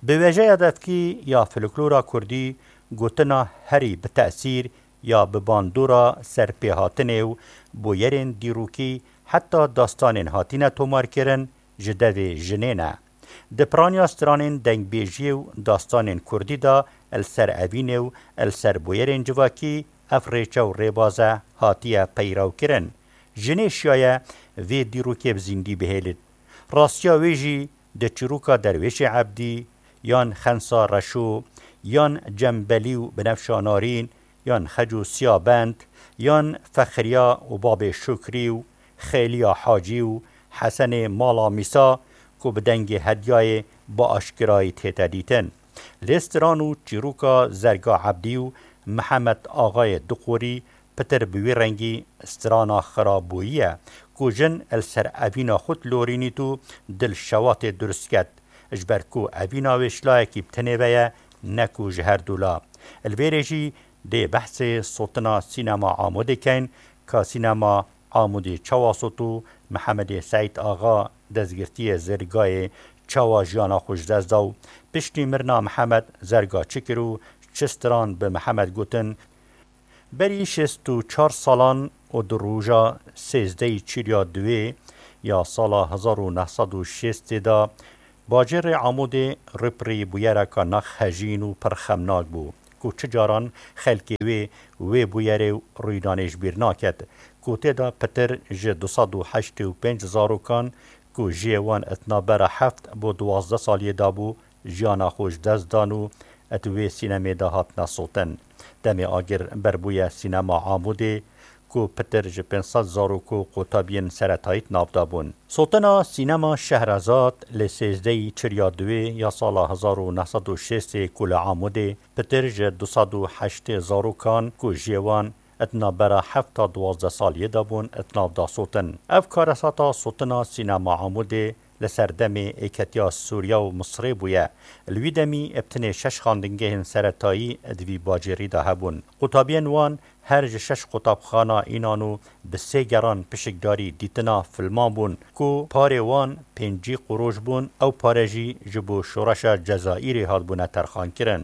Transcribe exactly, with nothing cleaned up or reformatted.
Bi wêjeya devkî ya folklora kurdî, gotina herî bi tesîr ya bi bandora serpêhatinê û bûyerên dîrokî heta dastanên hatine tomarkirin ji devê jinê ne. Di piraniya stranên dengbêjiyê û dastanên kurdî de li ser evînê û li ser bûyerên civakî ev rêçe û rêbaze hatiye peyrewkirin. Jinê şiyaye vê dîrokê bi zîndî bihêlit. Rastiya wê jî di çîroka Derwêşê Ebdî, yan Xensa Reşo, yan Cembelî û Binefşa Narîn, yan Xeco Siyabend, yan Fexriya û Babê Şukrî û Xêliya Hacî û Hesenê Mala Mîsa ku bi dengê hedyayê bi aşkirayî tête dîtin. Lê stran û çîroka Zerga Ebdî û Mihemed Axayê Duqorî pitir bi wî rengî strana Xirabûyî ye ku jin li ser evîna xwe dilorînît û dil şewatê durust ket. Ji ber ku evîna wê ji layekî bi tenê ve ye, ne ku ji her du la. Li vêrê jî dê behsê sotina sînema Amûdê kein, ka sînema Amûdê çawa sot û Mihemedê Seîd Axa destgirtiyê Zergayê çawa jiyana xwe ji dest da û piştî mirina Mihemed Zerga çi kir û çi stran bi Mihemed gotin. Berî şêst û çar salan û di roja sêzdehê Çirya Duwê ya sala hezar û neh sed û şêstê de bajêrê Amûdê rûpirî bûyereka nex hejîn û pir xemnak bû ku çi caran xelkê wê wê bûyerê û rûydanê ji bîr naket ku tê de pitir ji du sed û heştê û pênc zarokan ku jiyê wan di navbera heft bo duwazdeh saliyê de bû, jiyana xwe ji dest dan û di wê sînemê de hatine sotin. Demê agir berbûye sînema Amûdê ku pitir ji pênc sed zarok û qutabiyên seretayî di nav de bûn. Sotina sînema Şehrezad li sêzdehê Çirya Duwê ya sala hezar û neh sed û şêstê ku li Amûdê pitir ji du sed û heştê zarokan ku jiyê wan di navbera heft ta duwazdeh saliyê de bûn, di nav da sotin. Ev karesata sotina sînema Amûdê li serdemê êketiya Sûriya û Misirê bûye. Li wî demî bi tenê şeş xandingehên seretayî di vî bajêrî de hebûn. Qutabiyên wan her ji şeş qutabxana înan û bi sê geran pişikdarî dîtina filman bûn ku parê wan pêncî qurûş bûn, ew pare jî ji bo şoreşa Cezayîrê hatbûne terxankirin.